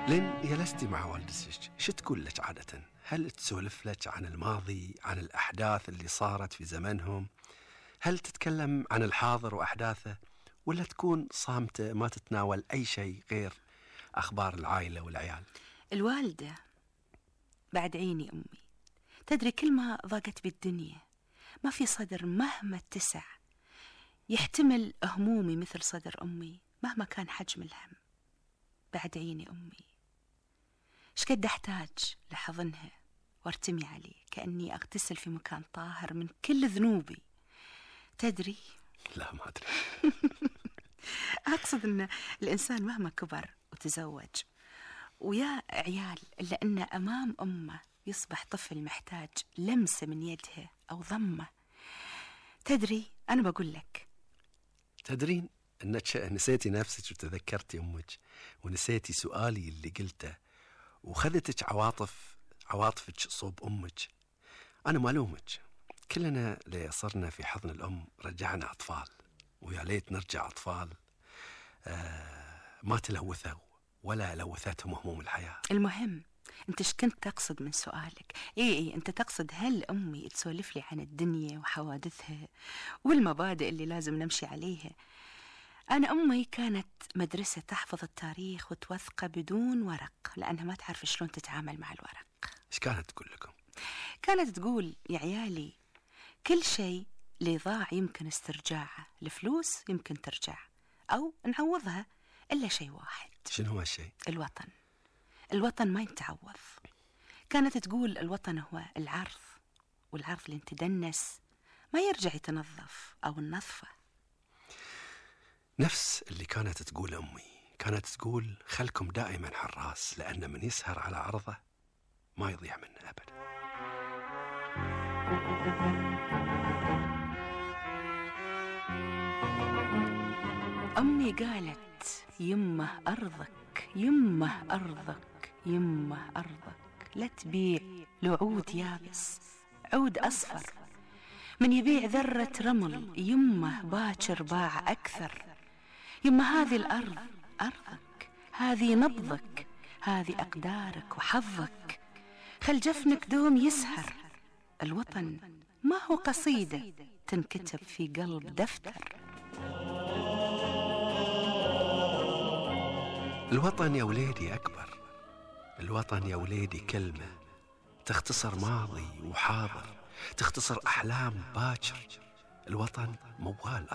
لين جلستي مع والدتك شو تقول لك عادة؟ هل تسولف لك عن الماضي، عن الأحداث اللي صارت في زمنهم؟ هل تتكلم عن الحاضر وأحداثه، ولا تكون صامتة ما تتناول أي شيء غير أخبار العائلة والعيال؟ الوالدة بعد عيني أمي، تدري كل ما ضاقت بالدنيا ما في صدر مهما اتسع يحتمل همومي مثل صدر أمي مهما كان حجم الهم. بعد عيني أمي، شقد أحتاج لحضنها وارتمي عليه كأني أغتسل في مكان طاهر من كل ذنوبي. تدري؟ لا ما أدري. أقصد أن الإنسان مهما كبر وتزوج ويا عيال إلا أنه أمام أمه يصبح طفل محتاج لمسة من يدها أو ضمة. تدري أنا بقول لك، تدرين أنك نسيتي نفسك وتذكرتي أمك ونسيتي سؤالي اللي قلته وخذتك عواطفك صوب أمك. أنا مالومك، كلنا اللي صرنا في حضن الأم رجعنا أطفال، ويا ليت نرجع أطفال ما تلوثوا ولا لوثتهم هموم الحياة. المهم أنت إيش كنت تقصد من سؤالك؟ إيه أنت تقصد هل أمي تسولف لي عن الدنيا وحوادثها والمبادئ اللي لازم نمشي عليها؟ أنا أمي كانت مدرسة تحفظ التاريخ وتوثقه بدون ورق، لأنها ما تعرف شلون تتعامل مع الورق. إيش كانت تقول لكم؟ كانت تقول يا عيالي كل شيء اللي ضاع يمكن استرجاعه، الفلوس يمكن ترجع أو نعوضها، إلا شيء واحد. شنو هو الشيء؟ الوطن. الوطن ما يتعوض. كانت تقول الوطن هو العرض، والعرض اللي تدنس ما يرجع يتنظف أو النظفة. نفس اللي كانت تقول أمي، كانت تقول خلكم دائما حراس، لأن من يسهر على عرضه ما يضيع منه أبدا. أمي قالت يمه أرضك، يمه أرضك، يمه أرضك، لا تبيع لعود يابس عود أصفر، من يبيع ذرة رمل يمه باكر باع أكثر. يمه هذه الأرض أرضك، هذه نبضك، هذه أقدارك وحظك، خل جفنك دوم يسهر. الوطن ما هو قصيدة تنكتب في قلب دفتر. الوطن يا وليدي أكبر، الوطن يا وليدي كلمة تختصر ماضي وحاضر، تختصر أحلام باكر. الوطن موال